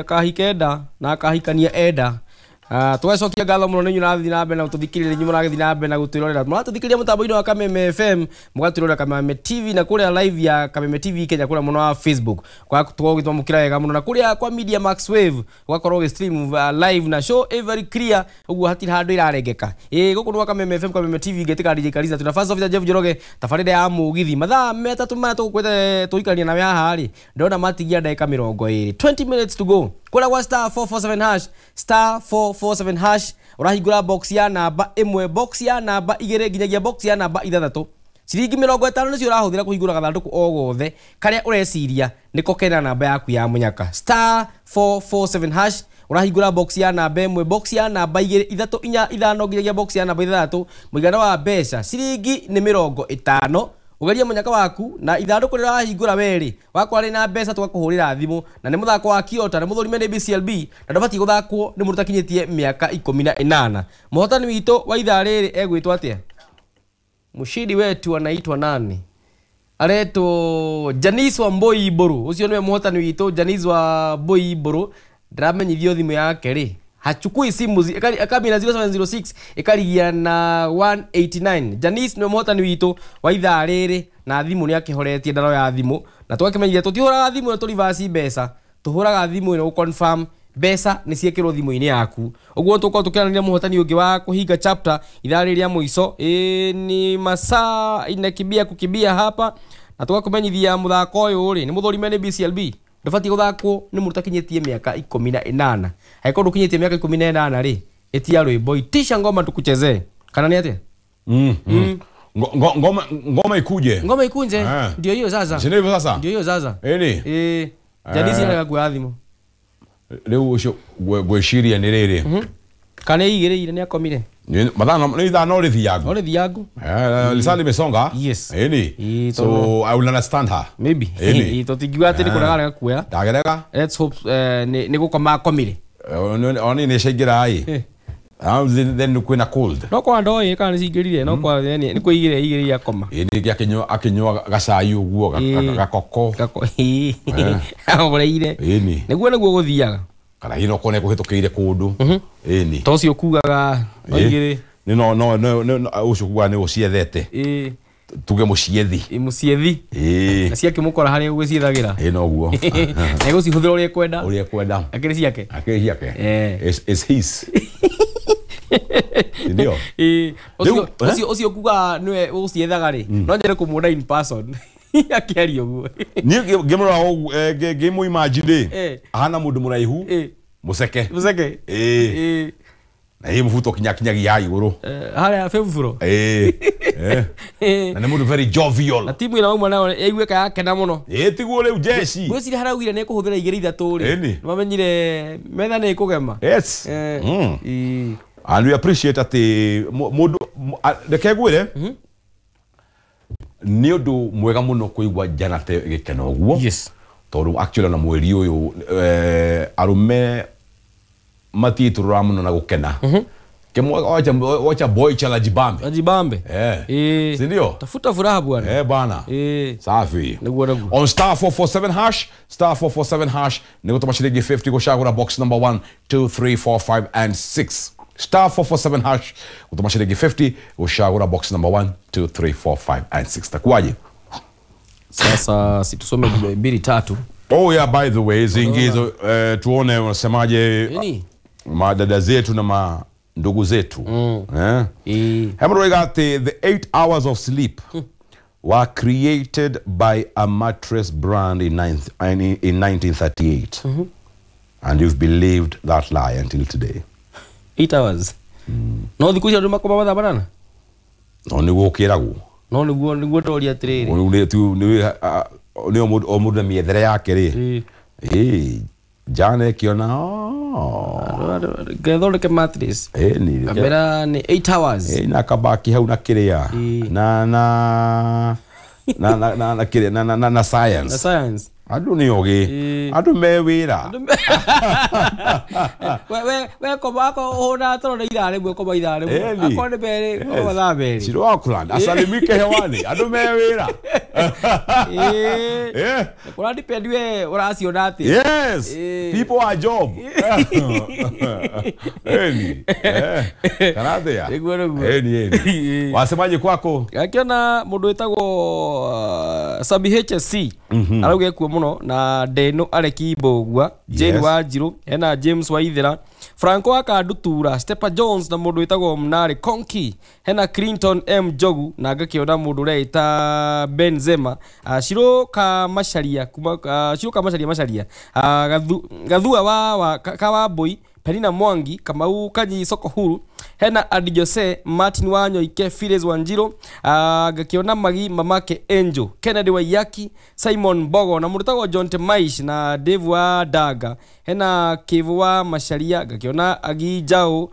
Akahika enda na akahikania enda. Tũgacokia ngatho mũno nĩ inyuĩ mũrathiĩ na mbere na gũtũthikĩrĩria, inyuĩ mũragĩthiĩ na mbere na gũtwĩrorera. Mũratũthikĩrĩria mũtambo-inĩ wa Kameme FM, mũgatwĩrorera Kameme TV na kũrĩa live ya Kameme TV Kenya kũrĩa mũno wa Facebook. Tũgakorwo ũgĩtwamũkĩra wega mũno na kũrĩa kwa Media Max Wave ũgakorwo ũgĩ-stream live na show ĩ very clear, ũguo hatirĩ handũ ĩrarengeka. Gũkũ nĩ gwa Kameme FM, Kameme TV, ngĩtĩka DJ Kariza, tuna first officer Jeff Njoroge, tabarĩra ya mũgithi. Mathaa metatũ maya tũgũkwĩte tũikarania nawe haha rĩ, ndĩrona matigia ndagĩka 20, 20 minutes to go. Kũrĩa gwa star 447 hash, star 447 hash, ũrahingũra box ya namba 1, box ya namba 2 nginyagia box ya namba 6. Ciringi 50 nĩcio ũrahũthĩra kũhingũra gathandũkũ o gothe karĩa ũreciria nĩko kena namba yaku ya mũnyaka. Star 447 hash, ũrahingũra box ya namba 1, box ya namba 2, 3, 4, 5 nginyagia box ya namba 6. Mũigana wa mbeca ciringi nĩ 50. Ũgerie mũnyaka waku na ithandũkũ rĩrĩa wahingũra werĩ wakwa rĩ na mbeca tũgakũhũrĩra thimũ, na nĩ mũthako wa Kiota, nĩ mũthũrime nĩ BCLB, na ndũbatiĩ gũthakwo nĩ mũndũ ũtakinyĩtie mĩaka 18. Mũhotani witũ wa ithaa rĩrĩ egwĩtwo atĩa? Mshindi wetu anaitwa nani? Aretwo Janice wa Mboi Mburu. Ũcio nĩwe mũhotani witũ, Janice wa Mboi Mburu. Ndĩramenyithio thimũ yake rĩ, hachukui simu, akambi na 0706 ĩkarigia na 189. Janice nĩwe mũhotani witũ wa ithaa rĩrĩ, na thimũ nĩ akĩhoretie, ndaroya thimũ, na tũgakĩmenyithia tũtihũraga thimũ ĩno tũrivaci mbeca, tũhũraga thimũ ĩno gũ-confirm mbeca nĩ ciĩkĩrwo thimũ-inĩ yaku. Ũguo tũkorwo tũkĩaranĩria mũhotani ũngĩ wa kũhinga chapter ithaa rĩrĩ rĩa mũico. Ni masaa inakimbia kukimbia hapa, na tũgakũmenyithia mũthako ũyũ rĩ nĩ mũthũrime nĩ BCLB, ndũbatiĩ gũthakwo nĩ mũndũ ũtakinyĩtie mĩaka 18. Angĩkorwo ndũkinyĩtie mĩaka 18 rĩ, ĩtia rwĩmbo, itisha ngoma tukuchezee, kana nĩ atĩa? Ngoma, ngoma ikuje. Ngoma ikunje. Ndio hiyo sasa. Si ndivyo sasa? Ndio hiyo sasa. Ĩni. Janice nĩarega kuoya thimũ. Rĩu ũcio ngwĩciria nĩ rĩrĩ. Kana ĩigĩrĩire nĩ akomire. Mathaa nĩ ithaa no rĩthiangu. No rĩthiangu. Lisaa limesonga. Yes. Ĩni. Ĩ, So tondũ I will understand her. Maybe. Ĩni. Tũtingiuga atĩ nĩ kũrega arega kuoya. Ndagerega. Let's hope nĩ gũkoma akomire. Oni nĩ ciaingĩra ĩ. Then kwĩna cold. No kwa ndoĩ kana nĩ cingĩrire, no kwa nĩ kwĩigĩrĩra igĩrĩire akoma. Ĩ ningĩ akĩnyua gacai ũguo gakoko. Gako. Ahoreire. Ĩni. Nĩguo gũthiaga. Kana hihi no kone kũhĩtũkĩire kũndũ. Ĩni. To ũcio kugaga no igĩrĩ. Nĩ no no no no ũcio kugaga nĩ ũciethete. Tuge mũciethi. Mũciethi. Na ciakĩmũkora harĩa ũgũciethagira. Ĩ noguo. Na egũcihũthĩra ũrĩa ekwenda. Ũrĩa ekwenda. Akĩrĩ ciake. Akĩrĩ ciake. It's his. Ndio. Ũcio Rĩu, ũcio kugaga nĩwe ũciethaga rĩ, no nyende kũmuona in person akĩaria ũguo. Niĩ ngĩmũrora ũguo, ngĩmũ imagine rĩ, ahana mũndũ mũraihu, mũceke. Mũceke. Na ĩ mũbuto kinyakinyagia haha igũrũ. Harĩa bĩburo. Na nĩ mũndũ very jovial. Na timu ĩno auma nayo yaiguĩka yakena mũno. Tiguo rĩu jeshi. Ngwĩciria haraugire nĩ ekũhũthĩra igĩrĩ ithatũ rĩ. Ĩni. Nĩmamenyire metha nĩ ĩkũgema. Yes. And we appreciate atĩ mũndũ reke ngwĩre, nĩ ũndũ mwega mũno kũigua Janate gĩkeno ũguo. Yes. Tondũ actually ona mweri ũyũ, arũme matiitũrũraga mũno na gũkena. Kemwe, wacha boy chala jibambe. Ajibambe. Si ndio? Tafuta furaha bwana. Bwana. Safi. Niguo niguo. On star 447 hash, star 447 hash, nĩ gũtũma ciringi 50 gũcagũra box number 1, 2, 3, 4, 5 and 6. Star 447 hash, gũtũma ciringi 50 gũcagũra box number 1, 2, 3, 4, 5 and 6. Takuwaje? Sasa si tusome mbili tatu. Oh yeah, by the way, zingizo, tuone unasemaje Nini? Madada zetu na ndugu zetu. Hebu roiga ati the 8 hours of sleep were created by a mattress brand in 1938. And you've believed that lie until today. 8 hours. No thikũ icio andũ makoma mathaa manana? No nĩguo ũkĩragwo. No nĩguo ndoria atĩrĩrĩ. Rĩu nĩ tu nĩ nĩ o mũndũ na mĩethere yake rĩ. Jana ĩkĩona, oh. Ngethondeke mattress. Ni Kamera ni 8 hours. Na kabaki hau na kĩrĩa. Na na na na na na kĩrĩa na na na, na science. Na science. Andũ nĩ ogĩ. Andũ me wĩra. We koma ako ũhũna toro nĩ ithaa rĩmwe koma ithaa rĩmwe. Akorwo nĩ merĩ koma mathaa merĩ. Ciro Auckland asalimike hewani. Andũ me wĩra. Kũra depend we ũraciona atĩa. Yes. People are job. Eni. Kana atia? Nĩguo nĩguo. Eni eni. Wasemaje kwako? Akiona mũndũ wĩtagwo Sabi HSC arauga ekuo mũno na Deno Areki Mbũgua, Jane Wanjirũ, hena James Waithera, Franco wa Kandutura, Stepper Jones na mũndũ wĩtagwo Mnarĩ Konki, hena Clinton M Njogu na ngakĩona mũndũ ũreĩta Benzema, Shiro ka Macharia kuma Shiro ka Macharia Macharia, Gathua wa Kawambui, Penina Mwangi, Kamau Kanyi Soko Huru, hena Adi Jose, Martin Wanyoike, Phyllis Wanjiro, ngakiona Magi Mamake Angel, Kennedy Waiyaki, Simon Mbogo na mũndũ wĩtagwo John Temaish na Dave wa Daga, hena Kivu wa Macharia, ngakiona Agi Jao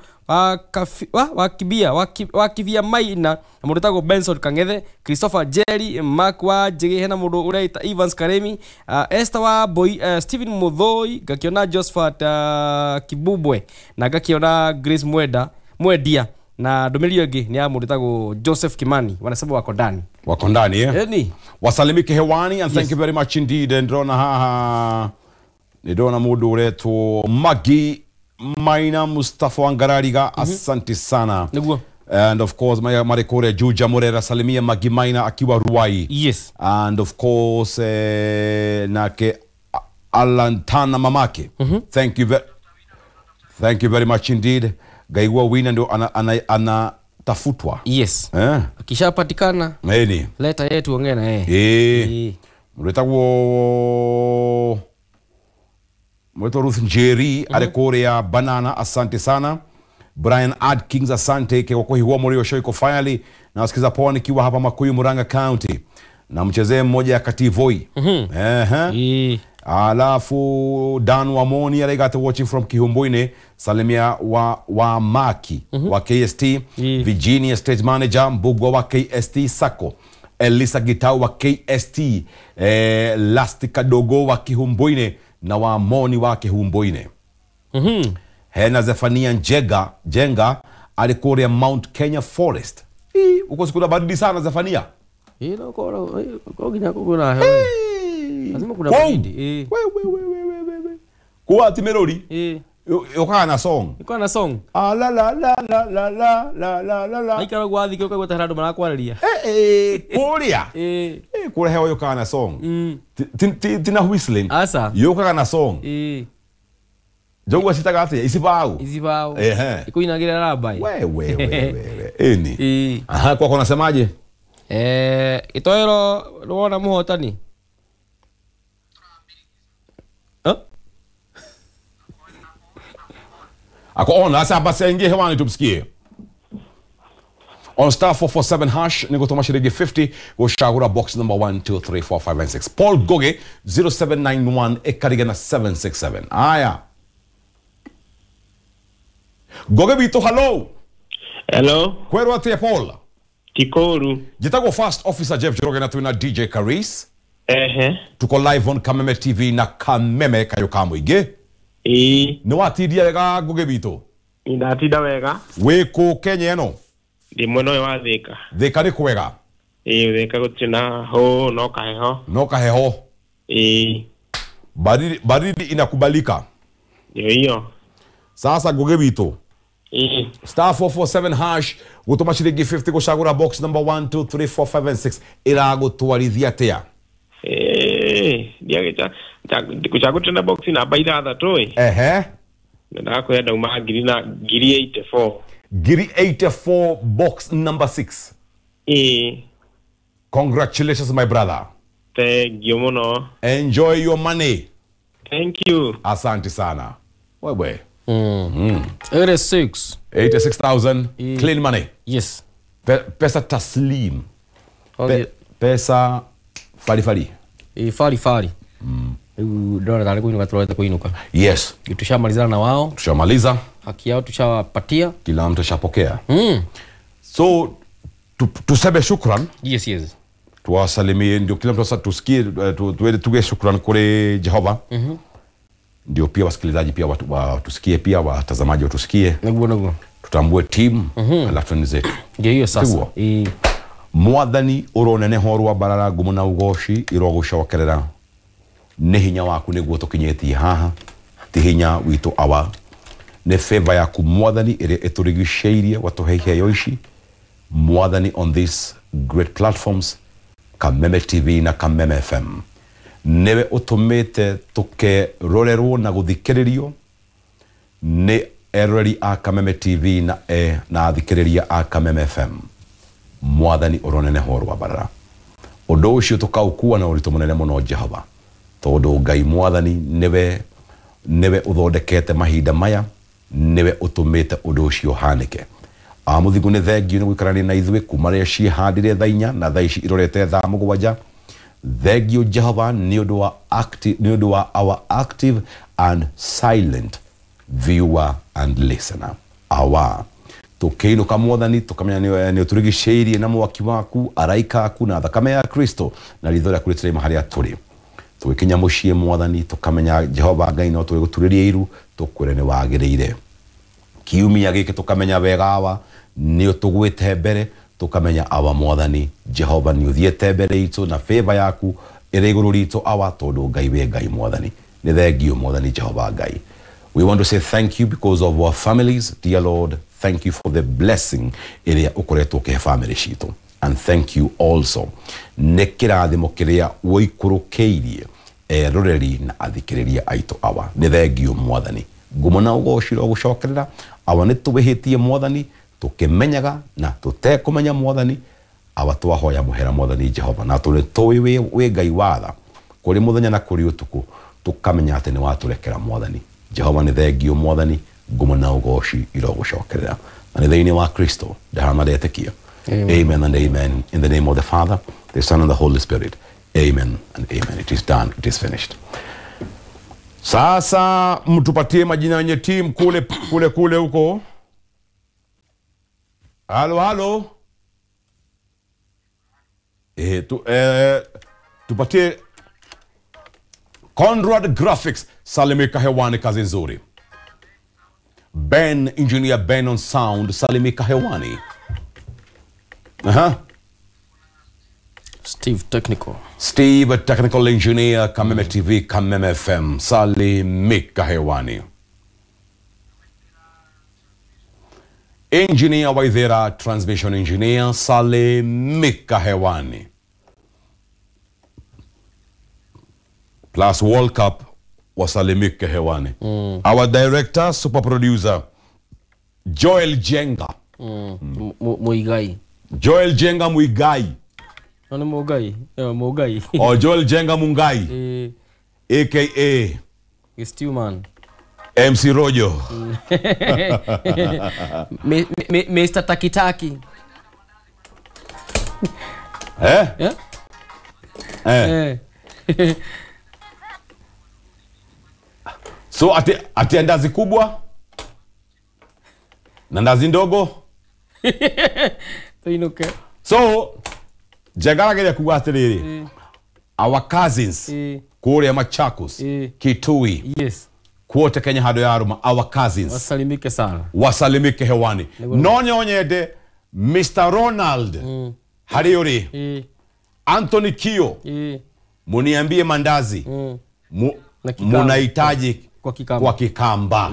wa Kibia Maina na mũndũ wĩtagwo Benson Kang'ethe, Christopher Jerry, Mark wa Njĩgĩ, hena mũndũ ũreita Evans Karemi, Esther wa Boy, Stephen Muthoi, ngakiona Josephat Kibubwe na ngakiona Grace Mwendia na ndũmĩrĩri ĩngĩ nĩ ya mũndũ wĩtagwo Joseph Kimani, wanasema wako ndani. Wako ndani eh? Eni. Wasalimike hewani and thank you very much indeed. Ndona haha ndona mũndũ ũretwo Magi Maina Mustafa Wangarariga, asante sana. Nĩguo. And of course Marekore Juja Murera salimia Magi Maina akiwa Ruai. Yes. And of course nake Alantana mamake. Thank you very much indeed. Gaigua wina ndio anatafutwa. Yes. Akishapatikana Eni. Leta yetu ongea na yeye. Mretagwo Mweto Ruth Njeri arekorea Banana, asante sana. Brian Adkins, asante kwa kuhiwa morio shoiko finally. Na wasikiza poa nikiwa hapa Makuyu Murang'a County. Na mchezee mmoja ya Kativoi. Alafu Dan Wamoni aregate watching from Kihumbuine, salimia wa Maki wa KST, Virginia State Manager Mbugwa wa KST Sako, Elisa Gitau wa KST, Lastika Dogo wa Kihumbuine na Wamoni wa Kihumbuine. Hena Zefania Jenga alikuwa Mount Kenya Forest. Uko siku baridi sana Zefania. Lazima kuna baridi. We. Kwa timerori. Yoka na song. Yoka na song. Ah la la la la la la la la la la. Aikara gwathi kyo kagweta handu marakwararia. Kuria. Kura hewa yoka na song. Tina whistling. Asa. Yoka na song. Jogwa sitagate isibao. Isibao. Ikuinagira rabai. We. Eni. Aha, kwa kona semaje? Itoero ruona muhotani. Ako on, asa basi aingie hewani tumsikie. On star 447 hash niko shilingi 50 goshagura box number 1 2 3 4 5 and 6. Paul Goge 0791 ekariga na 767. Aya. Goge bito, hello. Hello. Kwero atia Paul. Tikoru. Jitago First Officer Jeff Njoroge na tuna DJ Karis. Tuko live on Kameme TV na Kameme Kayokamuige. Nĩ watindia wega Ngũgĩ witũ? Ndatinda wega. Wĩ kũ Kenya ĩno? Ndĩ mwena ũyũ wa Thika. Thika nĩ kwega? Thika gũtirĩ na hũ, no kaheho. No kaheho. Baridi inakubalika. Ndio hiyo. Sasa Ngũgĩ witũ. Star 447 hash gũtũma shilingi 50 gũcagũra box number 1 2 3 4 5 and 6 ĩragũtwarithia atĩa? Kuchagũra na box namba ithathatũ ĩ. Ndakwenda ndauma ngiri na ngiri 84. Ngiri 84 box number 6. Congratulations my brother. Thank you muno. Enjoy your money. Thank you. Asante sana. Wewe. 86. 86,000 clean money. Yes. Pesa taslim. Pesa fari fari. Fari fari. Ndona tayari kuinuka tuloweza kuinuka. Yes. Tushamalizana na wao. Tushamaliza. Haki yao tushawapatia. Kila mtu ashapokea. So tuseme shukran. Yes, yes. Tuwasalimie ndio kila mtu sasa tusikie, tuende tuge shukrani kule Jehova. Ndio pia wasikilizaji pia watusikie, pia watazamaji watusikie. Niguo. Tutambue timu alafu ni zetu. Ndio hiyo sasa. Mwathani uroneneho rwa barara ngumo na ugoci irogucokerera nĩ hinya waku nĩguo tũkinyĩtie haha, ti hinya witũ awa, nĩ favor yaku Mwathani ĩrĩa ĩtũrigicĩirie watũhe iheo ici Mwathani on these great platforms Kameme TV na Kameme FM. Nĩwe ũtũmĩte tũkerorerwo na gũthikĩrĩrio nĩ eroreri a Kameme TV na athikĩrĩria a Kameme FM. Mwathani ũroneneho rwa barara ũndũ ũcio tũkaũkua na ũritũ mũnene mũno Jehova, tondũ Ngai Mwathani nĩwe ũthondekete mahinda maya, nĩwe ũtũmĩte ũndũ ũcio ũhanĩke. Amũthingu nĩ thengio nĩ gũikarania na ithuĩ kuma rĩrĩa ciĩhandire thaa 4 na thaa ici irorete thaa 7. Thengio Jehova nĩ ũndũ wa our active and silent viewer and listener. Awa tukĩinũka Mwathani tũkamenya nĩ ũtũrigicĩirie na mwaki waku, araika aku na thakame ya Kristo na ritho rĩaku rĩtirĩma harĩa tũrĩ. Tũgĩkinya mũciĩ Mwathani tũkamenya Jehova Ngai no tũgĩgũturĩrie iru tũkwĩre nĩ wagĩrĩire. Kiumia gĩkĩ tũkamenya wega awa nĩ ũtũgwĩte mbere, tũkamenya awa Mwathani Jehova nĩ ũthiĩte mbere itũ na favor yaku ĩrĩ igũrũ ritũ awa, tondũ Ngai wĩ Ngai Mwathani. Nĩ thengio Mwathani Jehova Ngai. We want to say thank you because of our families. Dear Lord, thank you for the blessing ĩrĩa ũkoretwo ũkĩhe family citũ. And thank you also nĩ kĩrathimo kĩrĩa ũikũrũkĩirie eroreri na athikĩrĩria aitũ awa. Nĩ thengio Mwathani. Ngumo na ũgoci rogũcokerera awa, nĩ tũwĩhĩtie Mwathani tũkĩmenyaga na tũtekũmenya Mwathani awa, twahoya mũhera Mwathani Jehova, na tũrĩ tũĩ wĩ Ngai watha kũrĩ mũthenya na kũrĩ ũtukũ, tũkamenya atĩ nĩ watũrekera Mwathani Jehova. Nĩ thengio Mwathani, ngumo na ũgoci irogũcokerera na nĩ thĩinĩ wa Kristo ndahana ndetĩkia. Amen and amen. In the name of the Father, the Son and the Holy Spirit. Amen and amen. It is done. It is finished. Sasa mtupatie majina yenye team kule kule kule huko. Halo halo. Tupatie Conrad Graphics, salimika hewani, kazi nzuri. Ben, engineer Ben on sound, salimika hewani. Steve Technical. Steve Technical Engineer, Kameme TV, Kameme FM, salimika hewani. Engineer Waithera, Transmission Engineer, salimika hewani. Plus World Cup wasalimike hewani. Our director, super producer, Joel Jenga. Muigai. Joel Jenga Muigai. No, Mugai. Mugai. Or Joel Jenga Mungai. AKA Stewman. MC Rojo. Mr. Takitaki. Eh? Yeah? Eh. So ati ndazi kubwa na ndazi ndogo. Tuinuke. So Jengara geria kuga atiriri. Our cousins kuria Machakos, Kitui. Yes. Kuote Kenya hado ya Aruma, our cousins. Wasalimike sana. Wasalimike hewani. No nyonyede Mr. Ronald Hariori. Anthony Kio. Muniambie mandazi. Munahitaji kwa Kikamba.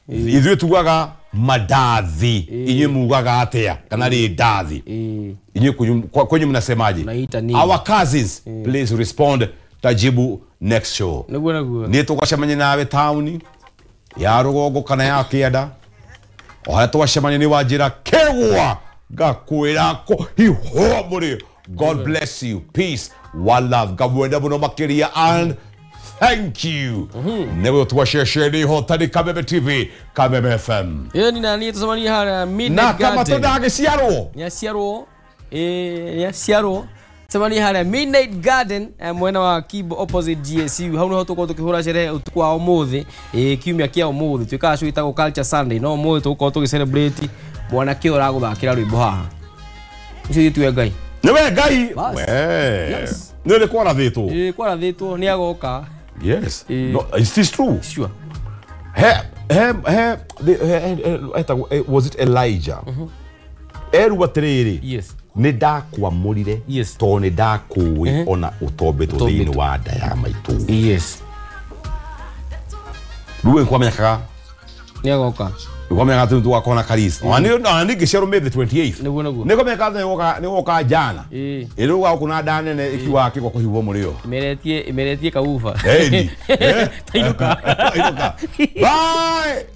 Ithuĩ tugaga madathi, inyuĩ mugaga atia kana rĩ ndathi? Inyuĩ kwenyu mnasemaje? Our cousins, please respond. Tajibu next show. Nĩ tũgacemania nawe tauni ya rũgongo kana ya kĩanda, o harĩa twacemania nĩ wanjĩra kĩgwa ngakwĩra hiho mũrĩ. God bless you. Peace, one love. Ngamwenda mũno makĩria and thank you. Newe tuwashesheni hotani Kameme TV, Kameme FM. Yeye ni nani tusamani hara Midnight Garden. Na kama tondageciarwo. Nyaciarwo. Nyaciarwo. Tusamani hara Midnight Garden mwena wa Kibo opposite GSU. Hau niho tukorwo tukihura sherehe utuku wa umuthi. Kiumia kia umuthi twikaga show itagwo Culture Sunday. No umuthi tugukorwo tugi celebrate mwanake ũrĩa ũraguthakĩra rwĩmbo haha. Ucio tuwe Ngai. Nĩwe Ngai. Bas. We. Yes. Nĩ nĩ kwarathĩtwo. Ĩĩ, kwarathĩtwo nĩ agoka. Yes. Ĩĩ. No, is this true? Sure. He he he the- etagwo, was it Elijah? Erwo atĩrĩrĩ, Yes. nĩ ndakwamũrire Yes. tondũ nĩ ndakũĩ ona ũtombĩtwo thĩinĩ wa nda ya maitũ. Yes. Rĩu nĩ kwamenyekaga, Nĩ agoka. nĩ kwamenyekaga atĩ nĩ tũgakorwo na karisa. Ona niĩ ngĩciarwo May the 28th. Nĩguo, nĩguo. Nĩ kwamenyekaga atĩ nĩ gũgoka njana. Ĩĩ. Ĩrĩ ũgagũkũ na nda nene ĩkiugaga kĩgwa kũhihwo mũrĩo. Ĩmeretie kauba. Ĩni. Tainũka. Tainũka. Bye.